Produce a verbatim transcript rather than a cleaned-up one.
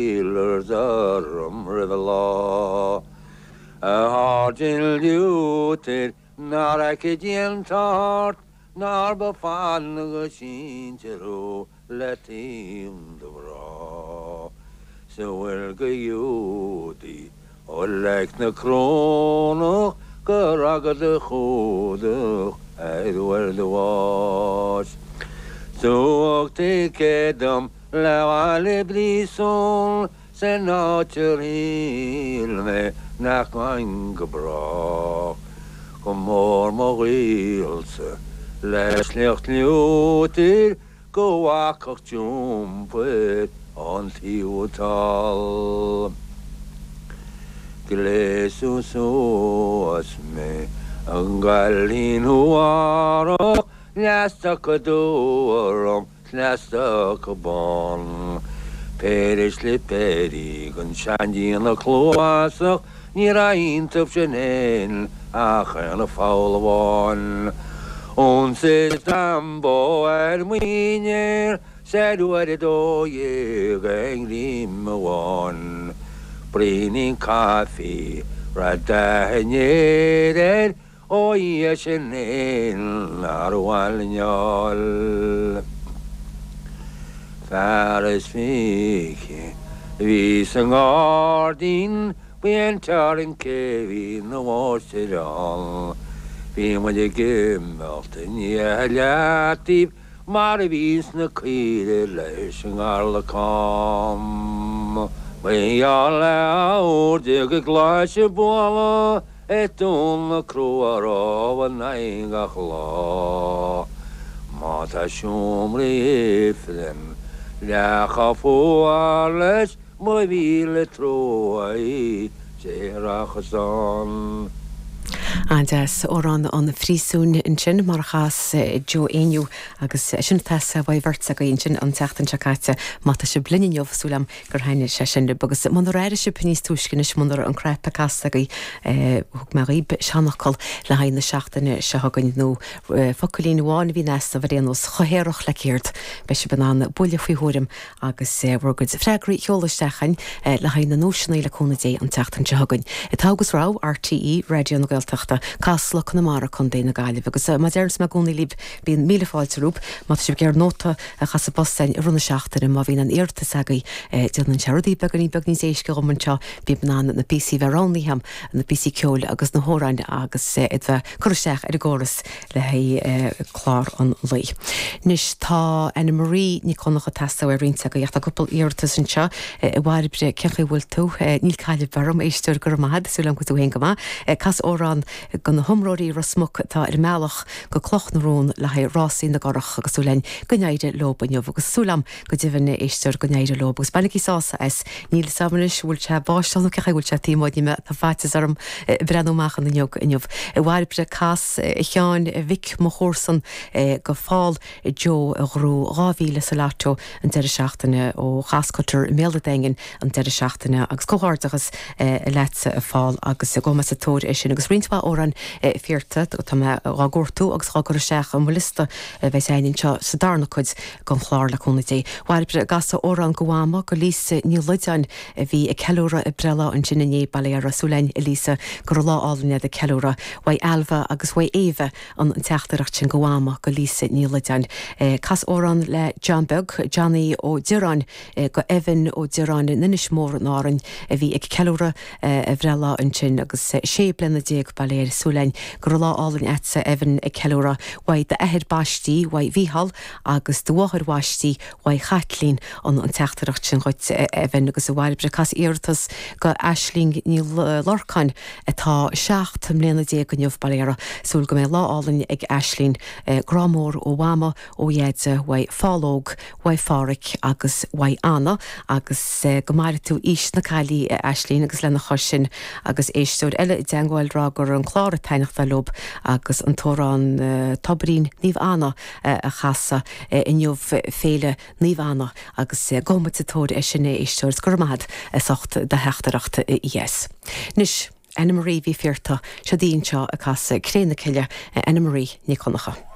Steelers orm roimh an lá. A sháirsint Liútar nár fheice Dia an tart nár ba fada go síntear thú le taom do mhná. 'S a bhfuil de Ghiúdaigh ó Leic na Corónach go raghad a chumhdach ar uair do bháis. Tugadh ticéad dom le ghabháil i bpríosún san áit ar shíl mé nach ngabhfainn go brách. Go mór mo ghaolsa le sliocht Liútair go bhfágfadh iompar ón taobh thall. Gléasadh suas mé a gcailín shuarach leathstoca dubh orm 's leathstoca bán. Péire slipéirí den seandíonadh cluasach ní raibh iontu sin fhéin ach aon pholl amháin. Ionsaigh Sambo ar muineál 's ar uair a dó dhéag aon ghreim amháin. Braoinín caife raibh dath an fhéir air ó Dhia sinn fhéin nár mhaith linn fháil. Fear is fiche a bhí sa ngairdín ba é an teorainn cé bhí ina mháistir ann. Bhí muid ag imeacht i ndiaidh a leataobh mar a bhíonns na caoirigh leis an gcarlacán. Ba gheall le uair déag i gclais ag bualadh ag Dún na Crua rómhar gach lá. Má tá seomraí ifrinn leath chomh fuar leis mo mhíle trua Dé rachas ann. An-deas amhrán an phríosúin ansin mar a chas Joe Éinniú agus sin tá bhaid bheirt go sin an tseachtain seo caite má tá sibh linn inniu súil agam gur thaitin sé sin libh agus munar airigh sibh níos túisce anois munar an cnaipe casta agaibh thug mé dhaoibh seanfhocal le haghaidh na seachtaine seo chugainn nó focailín amháin a bhí in easnamh ar aon nós chomh haerach le céard beidh sibh in ann buille faoi thuairim agus bhur gcuid freagraí a sheoladh isteach chugainn le haghaidh na nduaiseanna le cúnamh Dé an tseachtain seo chugainn. Togha agus Rogha RTÉ Raidió na Gaeltachta Casla Conamara Contae na Gaillimhe agus mar a deirim i gcónaí libh bíonn míle fáilte romhaibh má tá sibh ag iarraidh nóta a chur sa bpost i rith na seachtaine má bhíonn an iarratas agaibh déanann sé rudaí beagáinín beag níos éasca dhom anseo bím in ann na píosaí bheith roghnaithe na píosaí ceoil agus na hamhráin agus iad bheith cur isteach ar an gcóras le haghaidh clár an lae. Anois tá Anna Marie Ní Chonchúir teastáil ar roinnt agaibh tá cúpla iarratas anseo i bhFairbre cén chaoi bhfuil tú níl caillimh orm éisteoir go maith súil agam go bhfuil tú féin go maith cas amhrán do na hiomróirí Ros Muc atá ar an mbealach go Cloch na Rón le haghaidh rásaí na gcurach agus súil againn go n-éireoidh leo inniu agus súil agam go deimhin éisteoir go n-éireoidh leo agus bainigí sásamh as níl a fhios agam anois bhfuil sé báisteach nó cén chaoi bhfuil sé taobh amuigh ní tá faitíos orm breathnú amach an fhuinneog inniu. I bhFairbre cas a Sheáin Mhic mo chomharsan go Phól Joe a ghnóthaigh dhá mhíle sa lotto an deireadh seachtaine ó Chascutter Méala Daingean an deireadh seachtaine agus comhghairdeachas leatsa a Phól agus go sa tóir é sin agus roinnt mhaith amhrán fiarta tá mé á gcuartú agus á gcur isteach an liosta bheidh againn anseo sa darna cuid den chlár le cúnamh Dé. Bhairbre cas amhrán do Mhama go Lisa Ní Loideáin a bhí ag ceiliúradh a breithlá ansin inné Baile Súil againn a Lisa go raibh lá álainn ag ceiliúradh uaidh Alva agus uaidh Éabha an teachtaireacht sin do Mhama go Lisa Ní Loideáin. Cas amhrán le John Beag Johnny Ó Direáin go Evan Ó Direáin in Inis Mór in Árainn a bhí ag ceiliúradh a bhreithlá ansin agus sé bliana déag bail air súil againn go raibh lá álainn agatsa Evan ag ceiliúradh uaidh d'athair baiste uaidh Mhícheál agus do mháthair bhaiste uaidh Chaitlín an an teachtaireacht sin chugat Evan agus a Bhairbre cas iarratas go Aisling Ní Lorcáin atá seacht mbliana déag inniu bail uirthi súil go mbeidh lá álainn ag Aisling grá mór ó Mhama ó Dheaide uaidh Phálóg uaidh Pháraic agus uaidh Anna agus go maire tú aois na caillí Aisling agus lena chois sin agus éisteoir eile i dteagmháil rá gur an clár ag taitneamh leo agus an t-amhrán Toirín Naomh Anna a chasadh inniu féile Naomh Anna agus gabhfaidh muid sa tóir é sin éisteoir go raibh maith agat as ucht do theachtaireacht yes. Anois Anna Marie bhí fiarta se díon seo ag casadh Cré na Cille Anna Marie Ní Chonchúir.